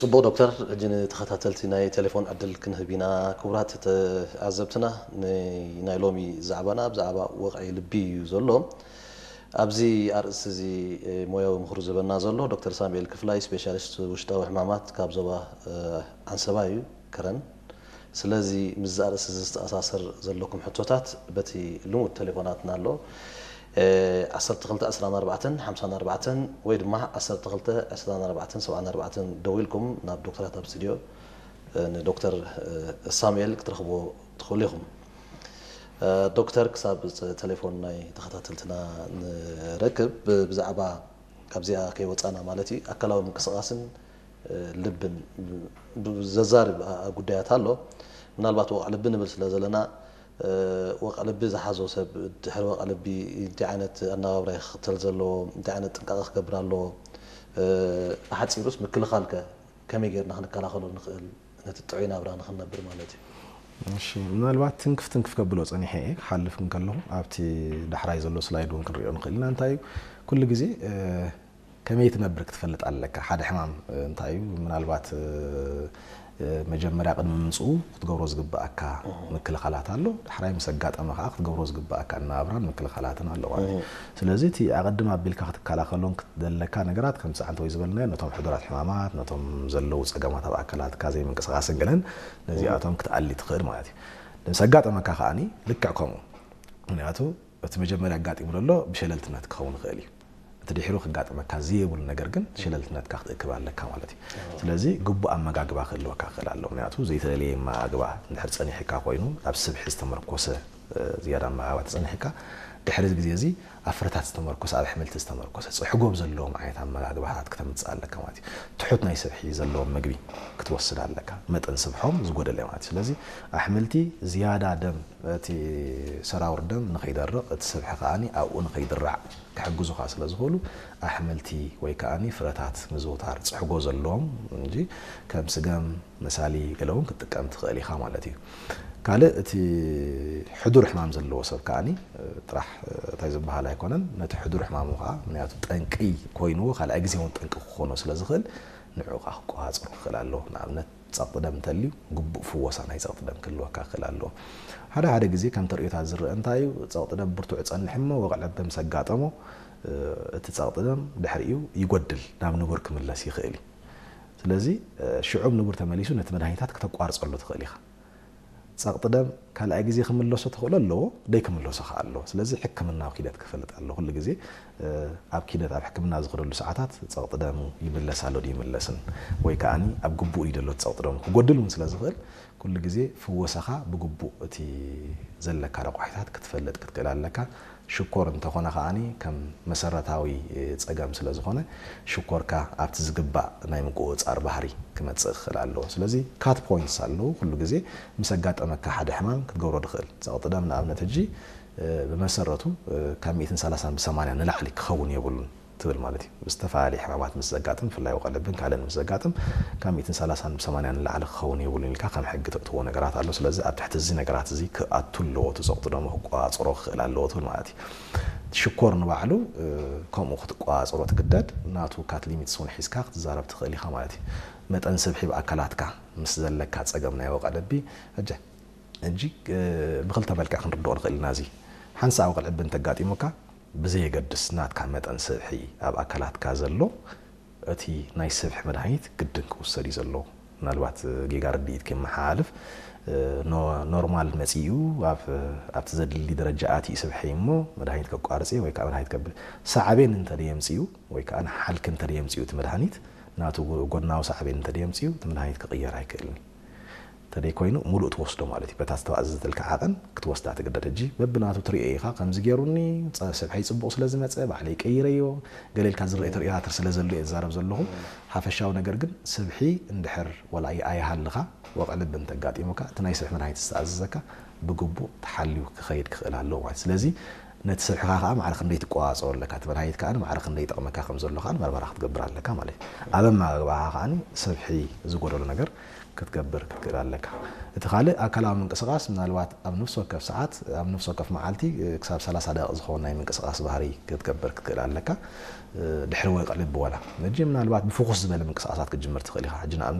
ጽቡቕ ዶክተር፣ ሕጂ ንተኸታተልቲ ናይ ቴሌፎን ዕድል ክንህብ ኢና። ክቡራት ተዓዘብትና፣ ናይ ሎሚ ዛዕባና ብዛዕባ ወቕዒ ልቢ እዩ ዘሎ። ኣብዚ ኣርእስቲ እዚ ሞያዊ ምኽሩ ዝህበና ዘሎ ዶክተር ሳሙኤል ክፍላይ፣ ስፔሻሊስት ውሽጣዊ ሕማማት ካብ ዞባ ዓንሰባ እዩ፣ ከረን። ስለዚ ምስዚ ኣርእስቲ እዚ ዝተኣሳሰር ዘለኩም ሕቶታት በቲ ልሙድ ቴሌፎናትና ኣሎ። ዓሰርተ ክልተ ዕስራን ኣርባዕተን ሓምሳን ኣርባዕተን ወይ ድማ ዓሰርተ ክልተ ዕስራን ኣርባዕተን ሰብዓን ኣርባዕተን ደዊልኩም ናብ ዶክተራት ኣብ ስቱድዮ ንዶክተር ሳሙኤል ክትረኽብዎ ትኽእሉ ኢኹም። ዶክተር፣ ክሳብ ቴሌፎን ናይ ተኸታተልትና ንረክብ፣ ብዛዕባ ካብዚኣ ከይወፃና ማለት እዩ፣ ኣካላዊ ምንቅስቓስን ልብን ዘዛርብ ጉዳያት ኣሎ። ምናልባት ወቕዒ ልቢ ንብል ስለ ዘለና፣ ወቕዒ ልቢ ዝሓዞ ሰብ ድሕሪ ወቕዒ ልቢ እንታይ ዓይነት ኣነባብራ ይኽተል ዘለዎ፣ እንታይ ዓይነት ጥንቃቐ ክገብር ኣለዎ፣ ብሓፂሩስ ምክልኻልከ ከመይ ጌርና ክንከላኸሎ ንኽእል፣ ነቲ ጥዑይ ናብራ ንኽንነብር ማለት እዩ? እሺ፣ ምናልባት ትንክፍ ትንክፍ ከብሎ ጸኒሐ እየ ክሓልፍ እንከለኹ፣ ኣብቲ ዳሕራይ ዘሎ ስላይድ እውን ክንሪኦ ንኽእል ኢና። እንታይ እዩ፣ ኩሉ ግዜ ከመይ ትነብር ክትፈልጥ ኣለካ። ሓደ ሕማም እንታይ እዩ፣ ምናልባት መጀመርያ ቅድሚ ምምፅኡ ክትገብሮ ዝግብኣካ ምክልኻላት ኣሎ። ዳሕራይ ምስ ኣጋጠመ ከዓ ክትገብሮ ዝግብኣካ ኣነባብራን ምክልኻላትን ኣሎ ማለት እዩ። ስለዚ እቲ ኣቐድም ኣቢልካ ክትከላኸሎን ዘለካ ነገራት ከምቲ ዓንተወይ ዝበልናዮ ነቶም ሕዱራት ሕማማት፣ ነቶም ዘለዉ ጸገማት ኣብ ኣካላትካ ዘይምንቅስቓስን ገለን ነዚኣቶም ክትኣሊ ትኽእል ማለት እዩ። ምስ ኣጋጠመካ ከዓኒ ልክዕ ከምኡ። ምክንያቱ እቲ መጀመርያ ኣጋጢሙ ዘሎ ብሸለልትነት ክኸውን ይኽእል እዩ። እቲ ድሒሩ ክጋጥመካ ዝየብሉ ነገር ግን ሸለልትነትካ ክትእክብ ኣለካ ማለት እዩ። ስለዚ ግቡእ ኣመጋግባ ክህልወካ ክኽእል ኣሎ። ምክንያቱ ዘይተለለየ ኣመጋግባ እንድሕር ጸኒሕካ ኮይኑ ኣብ ስብሒ ዝተመርኮሰ ዝያዳ ኣመጋግባ ተጸኒሕካ ድሕሪ ግዜ እዚ ኣብ ፍረታት ዝተመርኮሰ ኣብ ኣሕምልቲ ዝተመርኮሰ ጽሕጎብ ዘለዎም ዓይነት ኣመጋግባታት ክተምጽእ ኣለካ ማለት እዩ። ትሑት ናይ ስብሒ ዘለዎም ምግቢ ክትወስድ ኣለካ። መጠን ስብሖም ዝጎደለ ማለት እዩ። ስለዚ ኣሕምልቲ ዝያዳ ደም እቲ ሰራውር ደም ንኸይደርቕ እቲ ስብሒ ከዓኒ ኣብኡ ንኸይድራዕ ክሕግዙኻ ስለ ዝኽእሉ ኣሕምልቲ ወይ ከዓኒ ፍረታት ምዝውታር ጽሕጎ ዘለዎም እንጂ ከም ስገም መሳሊ ገለ እውን ክትጥቀም ትኽእል ኢኻ ማለት እዩ። ካልእ እቲ ሕዱር ሕማም ዘለዎ ሰብ ከዓኒ ጥራሕ እንታይ ዝበሃል ኣይኮነን፣ ነቲ ሕዱር ሕማሙ ከዓ ምክንያቱ ጠንቂ ኮይንዎ ካልኣይ ግዜ እውን ጠንቂ ክኾኖ ስለ ዝኽእል ንዑ ከዓ ክቆፃፀሮ ክኽእል ኣለዎ። ንኣብነት ጸቕጢ ደም እንተልዩ ግቡእ ፍወሳ ናይ ጸቕጢ ደም ክህልወካ ክኽእል ኣለዎ። ሓደ ሓደ ግዜ ከም ተርእዮታት ዝረአ እንታይ እዩ፣ ጸቕጢ ደም ብርቱዕ ይጸንሕ እሞ ወቕዒ ልቢ ምስ ኣጋጠሞ እቲ ጸቕጢ ደም ድሕሪኡ ይጎድል፣ ናብ ንቡር ክምለስ ይኽእል እዩ። ስለዚ ሽዑ ንቡር ተመሊሱ ነቲ መድሃኒታት ክተቋርጸሉ ትኽእል ኢኻ። ጸቕጢ ደም ካልኣይ ግዜ ክምለሶ ተኽእሎ ኣለዎ፣ ደይ ክምለሶ ከኣ ኣለዎ። ስለዚ ሕክምናዊ ኪደት ክፈልጥ ኣለዎ። ኩሉ ግዜ ኣብ ኪደት ኣብ ሕክምና ዝኸደሉ ሰዓታት ጸቕጢ ደሙ ይምለስ ኣሎ ድዩ ይምለስን ወይ ከዓኒ ኣብ ግቡእ ድዩ ዘሎ እቲ ጸቕጢ ደሙ ክጎድል እውን ስለ ዝኽእል ኩሉ ግዜ ፍወሳኻ ብግቡእ እቲ ዘለካ ረቋሒታት ክትፈልጥ ክትክእል ኣለካ። ሽኮር እንተኾነ ከዓኒ ከም መሰረታዊ ጸገም ስለ ዝኾነ ሽኮርካ ኣብቲ ዝግባእ ናይ ምቁጽጻር ባህሪ ክመጽእ ክኽእል ኣለዎ። ስለዚ cut points ኣለዉ። ኩሉ ግዜ ምስ ኣጋጠመካ ሓደ ሕማም ክትገብሮ ትኽእል። ጸቕጢ ደም ንኣብነት ሕጂ ብመሰረቱ ካብ ሚእትን ሰላሳን ብሰማንያ ንላዕሊ ክኸውን የብሉን ትብል ማለት እዩ። ብዝተፈላለየ ሕማማት ምስ ዘጋጥም ብፍላይ ወቕዒ ልብን ካልእን ምስ ዘጋጥም ካብ ሚእትን ሰላሳን ብሰማንያን ንላዕሊ ክኸውን የብሉን ኢልካ ከም ሕጊ ተእትዎ ነገራት ኣሎ። ስለዚ ኣብ ትሕቲ እዚ ነገራት እዚ ክኣቱ ኣለዎ፣ እቲ ጸቕጢ ደሙ ክቆጻጸሮ ክኽእል ኣለዎ ትብል ማለት እዩ። ሽኮር ንባዕሉ ከምኡ ክትቆጻጸሮ ትግደድ፣ ናቱ cut limits እውን ሒዝካ ክትዛረብ ትኽእል ኢኻ ማለት እዩ። መጠን ስብሒ ብኣካላትካ ምስ ዘለካ ጸገም ናይ ወቕዒ ልቢ ሕጂ ሕጂ ብኽልተ መልክዕ ክንርድኦ ንኽእል ኢና። እዚ ሓንሳእ ወቕዒ ልቢ እንተጋጢሙካ ብዘየገድስ ናትካ መጠን ስብሒ ኣብ ኣካላትካ ዘሎ እቲ ናይ ስብሒ መድሃኒት ግድን ክውሰድ እዩ ዘለዎ። ምናልባት ጌጋ ርድኢት ከመሓላልፍ ኖርማል መፂኡ ኣብቲ ዘድሊ ደረጃ ኣትዩ ስብሒ እሞ መድሃኒት ከቋርፅ ወይ ከዓ መድሃኒት ከብል ሳዕቤን እንተደየምፅኡ ወይ ከዓ ንሓልኪ እንተደየምፅኡ እቲ መድሃኒት ናቱ ጎድናዊ ሳዕቤን እንተደየምፅኡ እቲ መድሃኒት ክቕየር ኣይክእልን። እንተደይ ኮይኑ ሙሉእ ትወስዶ ማለት እዩ። በታ ዝተኣዘዘትልካ ዓቐን ክትወስዳ ትግደድ። ሕጂ በብናቱ ትሪኦ ኢኻ፣ ከምዚ ገይሩኒ፣ ጸ- ስብሐይ ጽቡቕ ስለ ዝመጸ ባዕለይ ቀይረዮ፣ ገለ ኢልካ ዝረአ ተርእዮታት ስለ ዘሎ እየ ዝዛረብ ዘለኹ። ሓፈሻዊ ነገር ግን ስብሒ እንድሕር ወላ ኣይሃልኻ ወቕዒ ልቢ እንተጋጢሙካ እቲ ናይ ስብሒ መድሃኒት ዝተኣዘዘካ ብግቡእ ተሓልዩ ክኸይድ ክኽእል ኣለዎ ማለት። ስለዚ ነቲ ሰብሕኻ ከዓ ማዕረ ክንደይ ትቆፃፀሮ ኣለካ፣ እቲ መድሃኒት ከዓ ማዕረ ክንደይ ይጠቕመካ ከም ዘሎ ከዓ መርመራ ክትገብር ኣለካ ማለት እዩ። ኣብ ኣመጋግባኻ ከዓ ሰብሒ ዝጎደሎ ነገር ክትገብር ክትክእል ኣለካ። እቲ ካልእ ኣካላዊ ምንቅስቃስ ምናልባት ኣብ ነፍሲ ወከፍ ሰዓት ኣብ ነፍሲ ወከፍ መዓልቲ ክሳብ ሰላሳ ደቂቕ ዝኸውን ናይ ምንቅስቃስ ባህሪ ክትገብር ክትክእል ኣለካ። ድሕሪ ወይቀ ልቢ ዋላ ነጂ ምናልባት ብፍኹስ ዝበለ ምንቅስቃሳት ክትጅምር ትኽእል ኢኻ። ሕጂ ንኣብነት